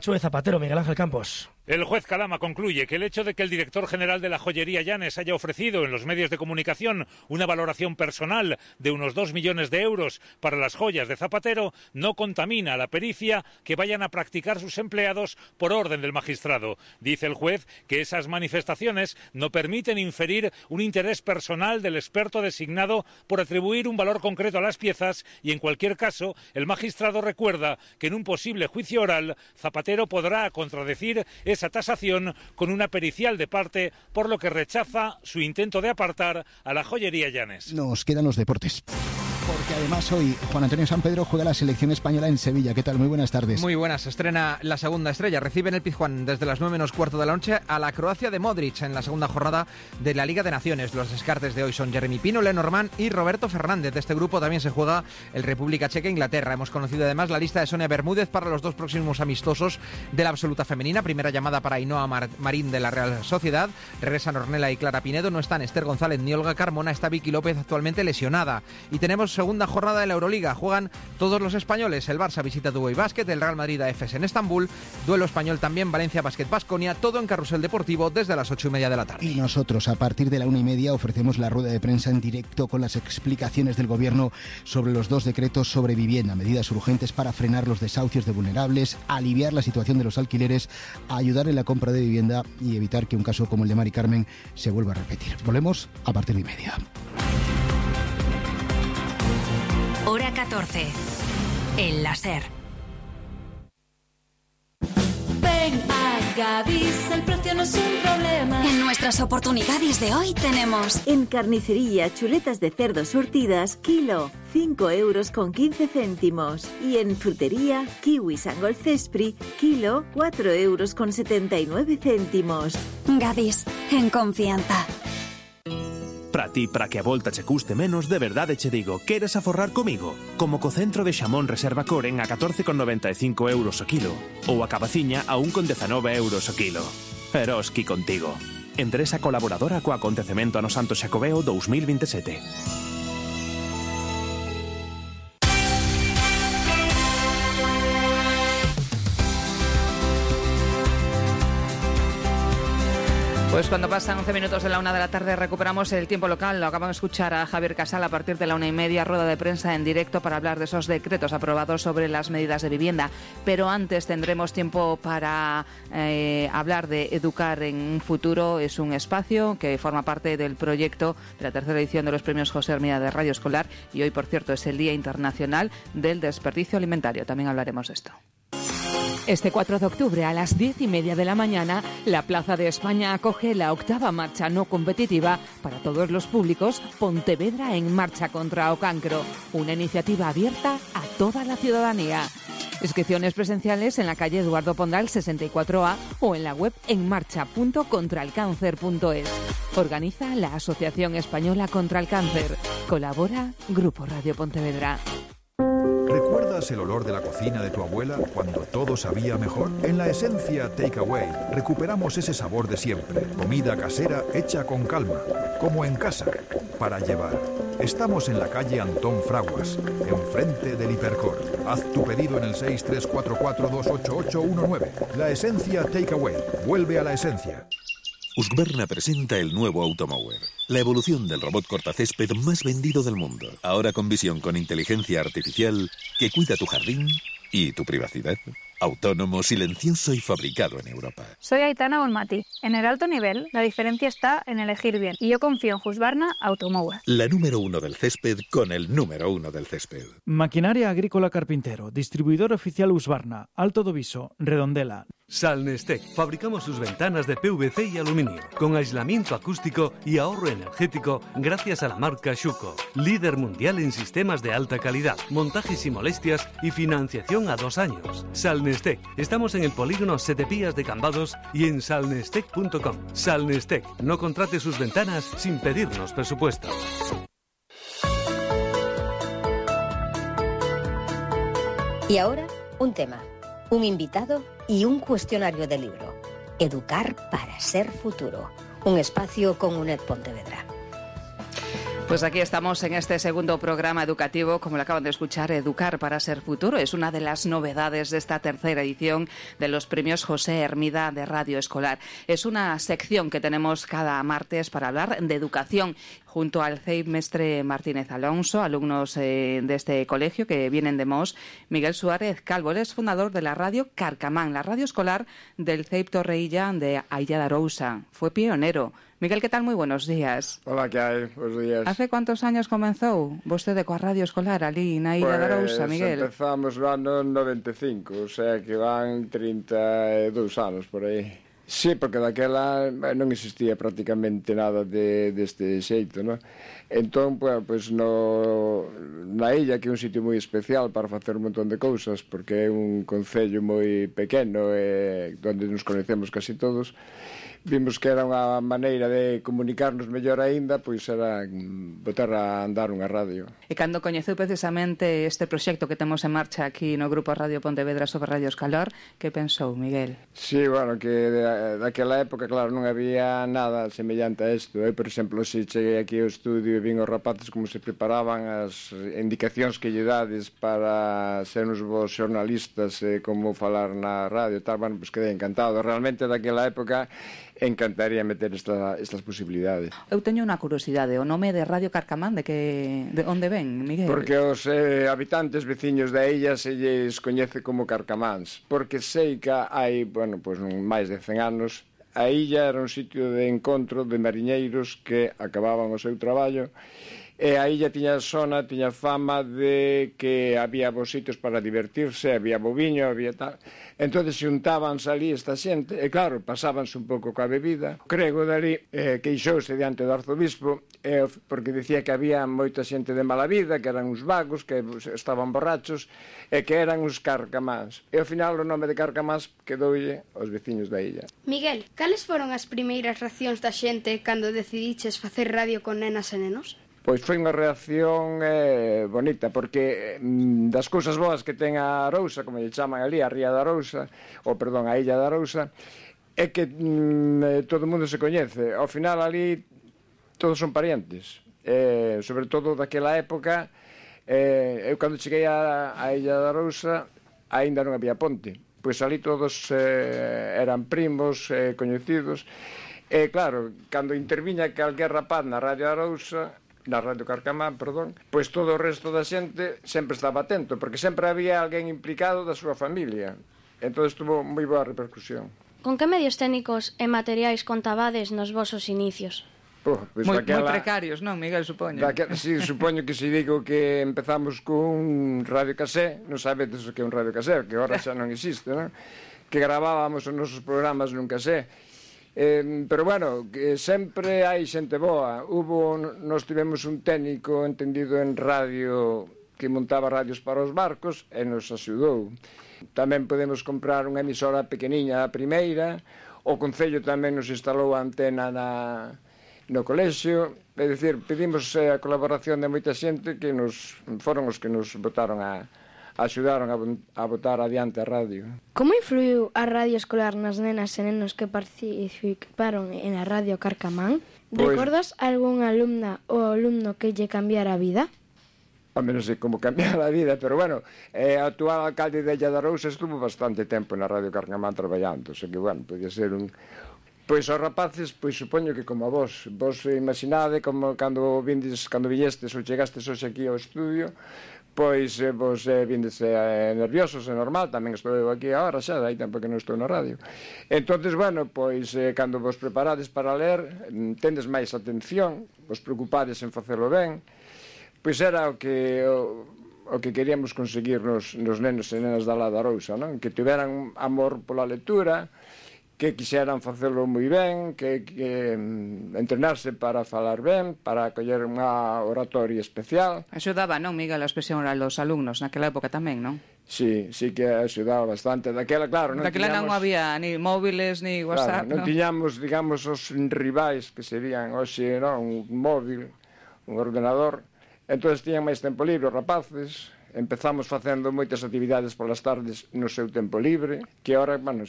Zapatero, Miguel Ángel Campos. El juez Calama concluye que el hecho de que el director general de la joyería Llanes haya ofrecido en los medios de comunicación una valoración personal de unos 2 millones de euros para las joyas de Zapatero no contamina la pericia que vayan a practicar sus empleados por orden del magistrado. Dice el juez que esas manifestaciones no permiten inferir un interés personal del experto designado por atribuir un valor concreto a las piezas y, en cualquier caso, el magistrado recuerda que en un posible juicio oral Zapatero podrá contradecir esa tasación con una pericial de parte, por lo que rechaza su intento de apartar a la joyería Llanes. Nos quedan los deportes. Porque además hoy Juan Antonio Sampedro juega la selección española en Sevilla. ¿Qué tal? Muy buenas tardes. Muy buenas. Estrena la segunda estrella. Recibe en el Pizjuán desde las 9:15 de la noche a la Croacia de Modric en la segunda jornada de la Liga de Naciones. Los descartes de hoy son Jeremy Pino, Lenormand y Roberto Fernández. De este grupo también se juega el República Checa e Inglaterra. Hemos conocido además la lista de Sonia Bermúdez para los 2 próximos amistosos de la absoluta femenina. Primera llamada para Ainhoa Marín de la Real Sociedad. Regresan Ornella y Clara Pinedo. No están Esther González ni Olga Carmona. Está Vicky López, actualmente lesionada. Y tenemos segunda jornada de la Euroliga. Juegan todos los españoles. El Barça visita Dubai Basket, el Real Madrid a Efes en Estambul. Duelo español también, Valencia Basket Baskonia. Todo en Carrusel Deportivo desde las 8:30 de la tarde. Y nosotros a partir de la 1:30 ofrecemos la rueda de prensa en directo con las explicaciones del Gobierno sobre los 2 decretos sobre vivienda, medidas urgentes para frenar los desahucios de vulnerables, aliviar la situación de los alquileres, ayudar en la compra de vivienda y evitar que un caso como el de Mari Carmen se vuelva a repetir. Volvemos a partir de 1:30. Hora 14. El láser. Ven a Gadis, el precio no es un problema. En nuestras oportunidades de hoy tenemos... En carnicería, chuletas de cerdo surtidas, kilo, 5,15 €. Y en frutería, kiwis Angol Cespri, kilo, 4,79 €. Gadis, en confianza. Para ti, para que a volta che custe menos, de verdade che digo, queres aforrar comigo? Como co centro de xamón Reserva Coren a 14,95 € o kilo, ou a cabaciña a 1,19 € o kilo. Eroski contigo. Empresa colaboradora co acontecemento Ano Santo Xacobeo 2027. Pues cuando pasan 11 minutos de la 1 de la tarde recuperamos el tiempo local. Lo acabamos de escuchar a Javier Casal a partir de la 1:30, rueda de prensa en directo para hablar de esos decretos aprobados sobre las medidas de vivienda. Pero antes tendremos tiempo para hablar de Educar en un Futuro. Es un espacio que forma parte del proyecto de la tercera edición de los premios José Hermida de Radio Escolar. Y hoy, por cierto, es el Día Internacional del Desperdicio Alimentario. También hablaremos de esto. Este 4 de octubre a las 10:30 de la mañana, la Plaza de España acoge la 8ª marcha no competitiva para todos los públicos Pontevedra en Marcha contra o Cancro, una iniciativa abierta a toda la ciudadanía. Inscripciones presenciales en la calle Eduardo Pondal 64A o en la web enmarcha.contralcáncer.es. Organiza la Asociación Española contra el Cáncer. Colabora Grupo Radio Pontevedra. ¿Recuerdas el olor de la cocina de tu abuela cuando todo sabía mejor? En La Esencia Takeaway recuperamos ese sabor de siempre. Comida casera hecha con calma, como en casa, para llevar. Estamos en la calle Antón Fraguas, enfrente del Hipercor. Haz tu pedido en el 634428819. La Esencia Takeaway. Vuelve a la esencia. Husqvarna presenta el nuevo Automower, la evolución del robot cortacésped más vendido del mundo. Ahora con visión con inteligencia artificial que cuida tu jardín y tu privacidad. Autónomo, silencioso y fabricado en Europa. Soy Aitana Bonmati. En el alto nivel, la diferencia está en elegir bien. Y yo confío en Husqvarna Automower. La número 1 del césped con el número 1 del césped. Maquinaria Agrícola Carpintero, distribuidor oficial Husqvarna, Alto do Viso, Redondela. Salnestec. Fabricamos sus ventanas de PVC y aluminio, con aislamiento acústico y ahorro energético gracias a la marca Schuco, líder mundial en sistemas de alta calidad, montajes sin molestias y financiación a 2 años. Salnestec. Estamos en el polígono Setepías de Cambados y en salnestec.com. Salnestec. No contrate sus ventanas sin pedirnos presupuesto. Y ahora, un tema, un invitado y un cuestionario de libro. Educar para ser futuro. Un espacio con UNED Pontevedra. Pues aquí estamos en este segundo programa educativo, como lo acaban de escuchar, Educar para ser futuro. Es una de las novedades de esta tercera edición de los premios José Hermida de Radio Escolar. Es una sección que tenemos cada martes para hablar de educación, junto al CEIP Mestre Martínez Alonso, alumnos de este colegio que vienen de Mos, Miguel Suárez Calvo. Él es fundador de la radio Carcamán, la radio escolar del CEIP Torreilla de Ailla de Arousa. Fue pionero. Miguel, ¿qué tal? Muy buenos días. Hola, ¿qué hai? Buenos días. Hace cuántos años comenzou vostede coa radio escolar ali na Illa de Arousa, Miguel? Empezamos no ano 95, o sea que van 32 anos por aí. Sí, porque daquela non existía prácticamente nada deste xeito, non? Entón, pues na illa, que é un sitio moi especial para facer un montón de cousas, porque é un concello moi pequeno, onde nos conhecemos casi todos, vimos que era unha maneira de comunicarnos mellor aínda, pois era botar a andar unha radio. E cando coñeceu precisamente este proxecto que temos en marcha aquí no Grupo Radio Pontevedra sobre Radio Escolar, que pensou, Miguel? Sí, bueno, que daquela época, claro, non había nada semellante a isto. Eu, por exemplo, se cheguei aquí ao estudio e vin os rapaces como se preparaban, as indicacións que lle dades para ser uns bons xornalistas, como falar na radio e tal, bueno, pues quedei encantado. Realmente, daquela época, encantaría meter estas posibilidades. Eu teño unha curiosidade, o nome de Radio Carcamán, de onde ven, Miguel? Porque os habitantes veciños da illa se lles coñece como Carcamáns, porque sei que hai, bueno, pues máis de 100 anos, a illa era un sitio de encontro de mariñeiros que acababan o seu traballo, e a illa tiña fama de que había bons sitios para divertirse, había boviño, había tal. Entón, xuntábanse ali esta xente, e claro, pasábanse un pouco coa bebida. Crego dali queixouse diante do arzobispo, porque dicía que había moita xente de mala vida, que eran uns vagos, que estaban borrachos, e que eran uns carcamáns. E ao final o nome de Carcamáns quedoulle aos veciños da illa. Miguel, cales foron as primeiras reaccións da xente cando decidiches facer radio con nenas e nenos? Pois foi unha reacción bonita, porque das cousas boas que ten a Arousa, como lle chaman ali, a Ría de Arousa, a Illa de Arousa, é que todo o mundo se coñece. Ao final ali todos son parientes, sobre todo daquela época. Eu cando cheguei a Illa de Arousa aínda non había ponte, pois ali todos eran primos, coñecidos, e claro, cando interviña calquer rapaz na Radio Arousa, na Radio Carcamán, pois todo o resto da xente sempre estaba atento, porque sempre había alguén implicado da súa familia. Entón, estuvo moi boa repercusión. Con que medios técnicos e materiais contabades nos vosos inicios? Pues moi precarios, non, Miguel, supoño? Sí, supoño que se digo que empezamos con radio casé, non sabedes o que é un radio casé, que agora xa non existe, non? Que gravábamos os nosos programas nun casé. Pero bueno, que sempre hai xente boa. Nós tivemos un técnico entendido en radio que montaba radios para os barcos e nos axudou. Tamén podemos comprar unha emisora pequeniña a primeira. O Concello tamén nos instalou a antena no colexio. É dicir, pedimos a colaboración de moita xente que foron os que nos axudaron a botar adiante a radio. Como influiu a radio escolar nas nenas e nenos que participaron en a Radio Carcamán? Recordas algún alumna ou alumno que lle cambiara a vida? Home, non sei como cambiar a vida, pero bueno, o actual alcalde de Illa de Arousa estuvo bastante tempo na Radio Carcamán traballando, o sea que, bueno, podía ser un... Pois os rapaces, pois supoño que como a vos imaginade, como cando viñestes ou chegastes hoxe aquí ao estudio, pois vos vindes nerviosos, é normal, tamén estou eu aquí agora xa, hai tempo que non estou na radio. Entonces, bueno, pois cando vos preparades para ler, tendes máis atención, vos preocupades en facelo ben, pois era o que queríamos conseguir nos nenos e nenas da Illa de Arousa, non? Que tiveran amor pola lectura, que quixeran facelo moi ben, que entrenarse para falar ben, para coller unha oratoria especial. Axudaba, non, Miguel, a expresión oral dos alumnos naquela época tamén, non? Sí que axudaba bastante. Daquela, claro, non tiñamos... non había ni móviles, ni WhatsApp, non tiñamos, digamos, os rivais que serían hoxe, non? Un móvil, un ordenador. Entón, tiñan máis tempo libre os rapaces. Empezamos facendo moitas actividades polas tardes no seu tempo libre, que ahora, bueno,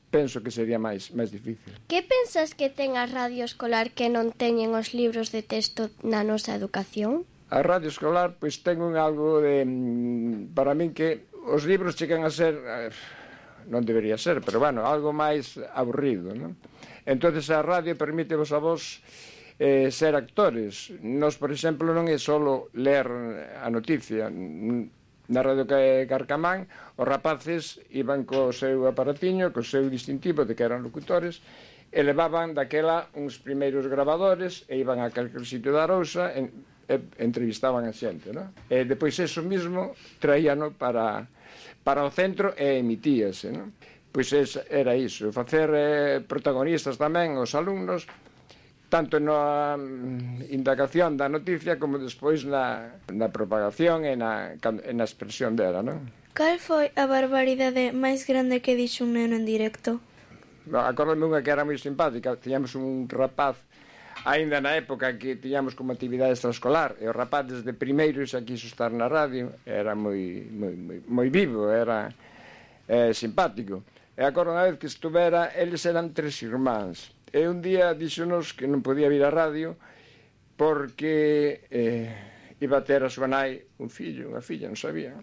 penso que sería máis difícil. Que pensas que ten a radio escolar que non teñen os libros de texto na nosa educación? A radio escolar, pois, ten algo de... Para min que os libros chegan a ser... non debería ser, pero, bueno, algo máis aburrido, non? Entonces a radio permítevos a vos ser actores. Nos, por exemplo, non é só ler a noticia. Na Radio Carcamán, os rapaces iban co seu aparatiño, co seu distintivo de que eran locutores, e levaban daquela uns primeiros grabadores e iban a calquer sitio da Arousa e entrevistaban a xente, non? E depois eso mismo traíano para o centro e emitíase, non? Pois era iso, facer protagonistas tamén os alumnos, tanto na indagación da noticia como despois na propagación e na expresión dela, non? Cal foi a barbaridade máis grande que dixo un neno en directo? Acórdame unha que era moi simpática. Tiñamos un rapaz, aínda na época que tiñamos como actividade extraescolar, e o rapaz desde primeiro xa quiso estar na radio, era moi vivo, era simpático. E acordo unha vez que estuvera, eles eran 3 irmáns. E un día díxonos que non podía vir á radio porque iba a ter a súa nai un fillo, unha filla, non sabía.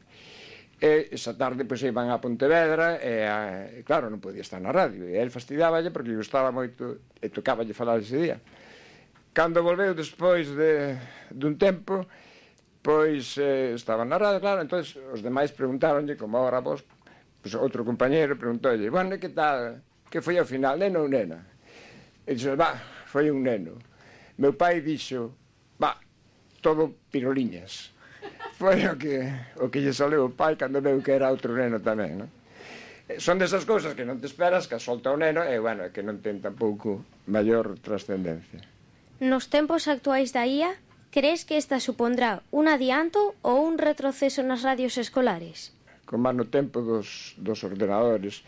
E esa tarde pois iban a Pontevedra e claro, non podía estar na radio. E el fastidiáballe porque lle gustaba moito e tocáballe falar ese día. Cando volveu despois dun tempo, pois estaban na radio, claro, entón os demais preguntáronlle, como agora vos, pois outro compañeiro preguntoulle, bueno, que tal, que foi ao final, neno ou nena? E dixo, foi un neno. Meu pai dixo, todo piroliñas. Foi o que lle saleu o pai cando veu que era outro neno tamén, non? Son desas cousas que non te esperas, que solta o neno, e, bueno, que non ten tampouco maior trascendencia. Nos tempos actuais da IA, crees que esta supondrá un adianto ou un retroceso nas radios escolares? Como no tempo dos ordenadores,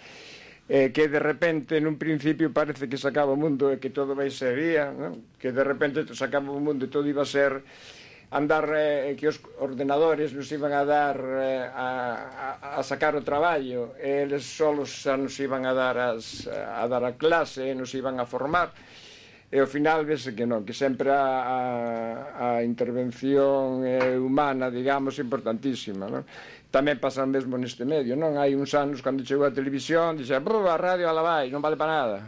que de repente, nun principio, parece que se acaba o mundo e que todo vai ser IA, non? Que de repente se acaba o mundo e todo iba a ser andar, que os ordenadores nos iban a dar a sacar o traballo, e eles solos xa nos iban a dar a clase e nos iban a formar, e ao final vese que non, que sempre a intervención humana, digamos, importantísima, non? Tamén pasa o mesmo neste medio, non? Hai uns anos, cando chegou a televisión, dixe, a radio ala vai, non vale para nada.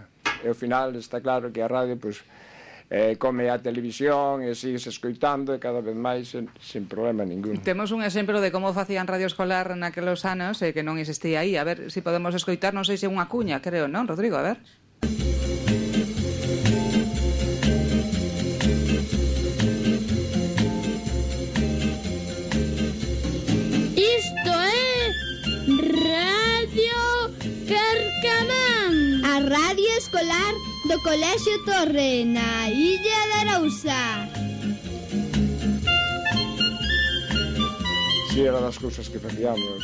E ao final está claro que a radio, pois, come a televisión e sigues escoitando e cada vez máis sen problema ningún. Temos un exemplo de como facían radio escolar naquelos anos que non existía aí. A ver se podemos escoitar, non sei se unha cuña, creo, non, Rodrigo? A ver. Radio escolar do Colexio Torre na Illa de Arousa. Si, era das cousas que facíamos.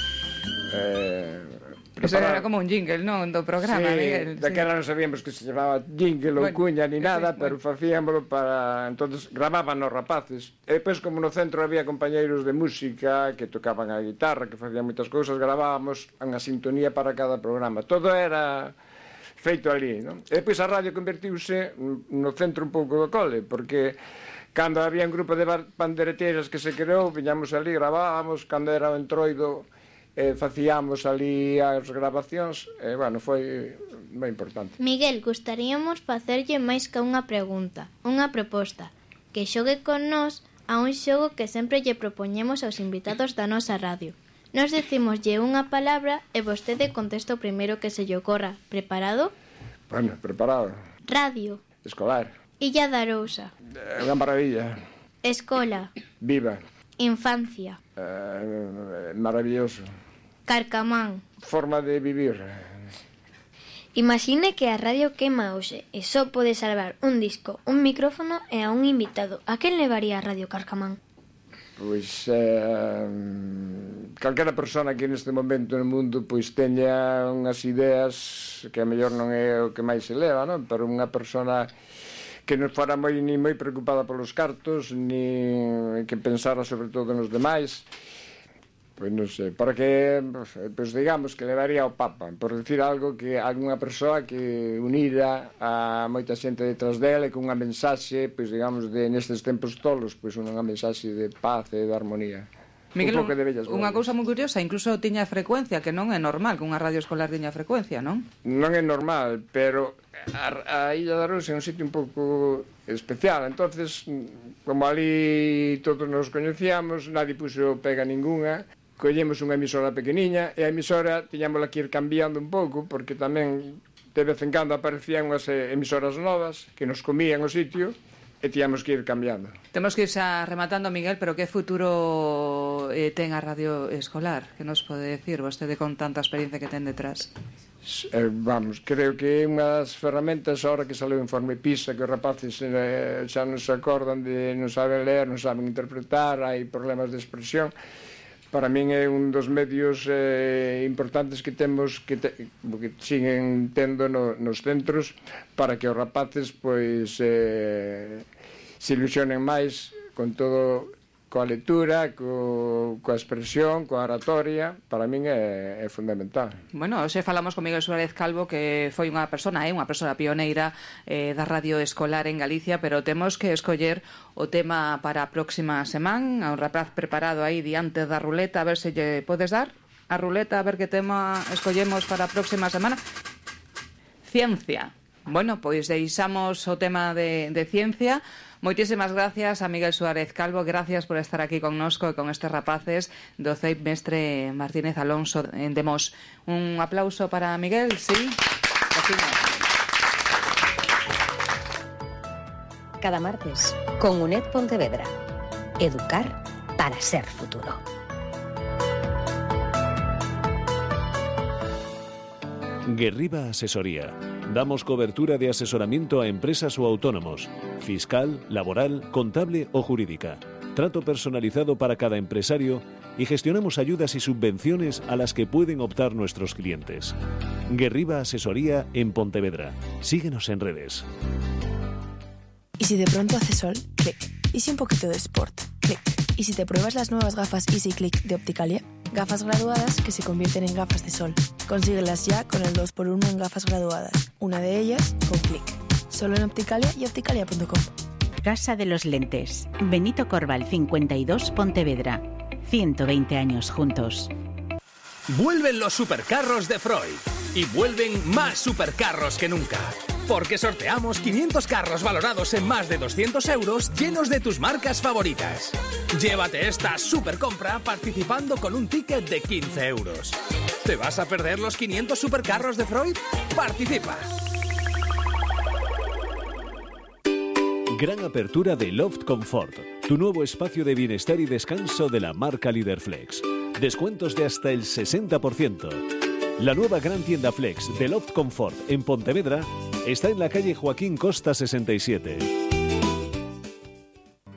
Eso era como un jingle, non? Do programa, sí, Miguel. Daquela non sabíamos que se chamaba jingle ou cuña ni nada, pero facíamoslo para... Entonces gravaban os rapaces. E depois, como no centro había compañeiros de música que tocaban a guitarra, que facían moitas cousas, gravábamos unha sintonía para cada programa. Todo era feito ali, non? E depois a radio convertiuse no centro un pouco do cole, porque cando había un grupo de pandereteiras que se creou, viñamos ali, gravábamos, cando era o entroido, facíamos ali as grabacións, e, bueno, foi moi importante. Miguel, gustaríamos facerlle máis que unha pregunta, unha proposta, que xogue con nós a un xogo que sempre lle propoñemos aos invitados da nosa radio. Nos decimoslle unha palabra e vostede contesta o primeiro que se lle ocorra. Preparado? Bueno, preparado. Radio. Escolar. Illa de Arousa. Unha maravilla. Escola. Viva. Infancia. Maravilloso. Carcamán. Forma de vivir. Imagine que a radio quema hoxe e só pode salvar un disco, un micrófono e a un invitado. A quen levaría a Radio Carcamán? Pois calquera persona que neste momento no mundo pois teña unhas ideas que a mellor non é o que máis se leva, non? Pero unha persona que non fora ni moi preocupada polos cartos, ni que pensara sobre todo nos demais, Pois non sei, porque pois digamos que levaría ao Papa, por decir algo, que algunha persoa que unida a moita xente detrás dela e con unha mensaxe, pois digamos, de nestes tempos tolos, pois unha mensaxe de paz e de armonía. Miguel, unha cousa moi curiosa, incluso tiña frecuencia, que non é normal que unha radio escolar tiña frecuencia, non? Non é normal, pero a Illa de Arousa é un sitio un pouco especial, entonces como ali todos nos coñecíamos, nadie puxo pega ninguna, collemos unha emisora pequeniña e a emisora tiñámola que ir cambiando un pouco porque tamén de vez en cando aparecían unhas emisoras novas que nos comían o sitio e tiñamos que ir cambiando. Temos que ir xa rematando, Miguel, pero que futuro ten a radio escolar? Que nos pode decir vostede con tanta experiencia que ten detrás? Vamos, creo que é unha das ferramentas ahora que sale o informe PISA, que os rapaces xa non se acordan de non saben ler, non saben interpretar, hai problemas de expresión. Para min é un dos medios importantes que temos que siguen tendo nos centros para que os rapaces pois se ilusionen máis con todo, coa lectura, coa expresión, coa oratoria. Para min é fundamental. Bueno, hoxe falamos con Miguel Suárez Calvo, que foi unha persona pioneira da radio escolar en Galicia, pero temos que escoller o tema para a próxima semana. Un rapaz preparado aí diante da ruleta, a ver se lle podes dar a ruleta, a ver que tema escollemos para a próxima semana. Ciencia. Bueno, pois deixamos o tema de ciencia. Moitísimas gracias a Miguel Suárez Calvo, gracias por estar aquí connosco e con estes rapaces do CEIP Mestre Martínez Alonso en Demos. Un aplauso para Miguel, sí. Cada martes, con UNED Pontevedra. Educar para ser futuro. Guerriba Asesoría. Damos cobertura de asesoramiento a empresas o autónomos, fiscal, laboral, contable o jurídica. Trato personalizado para cada empresario y gestionamos ayudas y subvenciones a las que pueden optar nuestros clientes. Guerriba Asesoría en Pontevedra. Síguenos en redes. ¿Y si de pronto hace sol? Clic. ¿Y si un poquito de sport? Clic. ¿Y si te pruebas las nuevas gafas Easy Click de Opticalia? Gafas graduadas que se convierten en gafas de sol. Consíguelas ya con el 2x1 en gafas graduadas. Una de ellas con Clic. Solo en Opticalia y opticalia.com. Casa de los Lentes. Benito Corval 52, Pontevedra. 120 años juntos. Vuelven los supercarros de Freud. Y vuelven más supercarros que nunca. Porque sorteamos 500 carros valorados en más de 200 euros llenos de tus marcas favoritas. Llévate esta supercompra participando con un ticket de 15 euros. ¿Te vas a perder los 500 supercarros de Freud? ¡Participa! Gran apertura de Loft Comfort, tu nuevo espacio de bienestar y descanso de la marca Líder Flex. Descuentos de hasta el 60%. La nueva gran tienda Flex de Loft Comfort en Pontevedra está en la calle Joaquín Costa 67.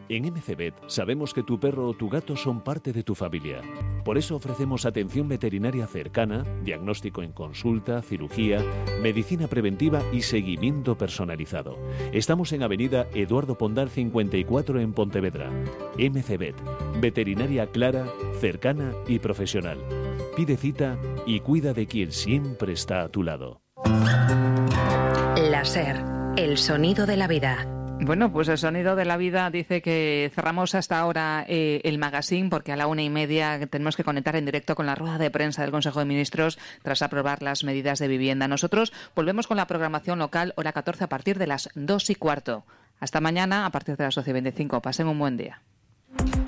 En MCVet sabemos que tu perro o tu gato son parte de tu familia. Por eso ofrecemos atención veterinaria cercana, diagnóstico en consulta, cirugía, medicina preventiva y seguimiento personalizado. Estamos en Avenida Eduardo Pondal 54 en Pontevedra. MCVet, veterinaria clara, cercana y profesional. Pide cita y cuida de quien siempre está a tu lado. La SER, el sonido de la vida. Bueno, pues el sonido de la vida dice que cerramos hasta ahora el magazine porque a la 1:30 tenemos que conectar en directo con la rueda de prensa del Consejo de Ministros tras aprobar las medidas de vivienda. Nosotros volvemos con la programación local, hora 14 a partir de las 2:15. Hasta mañana a partir de las 12:25. Pasen un buen día.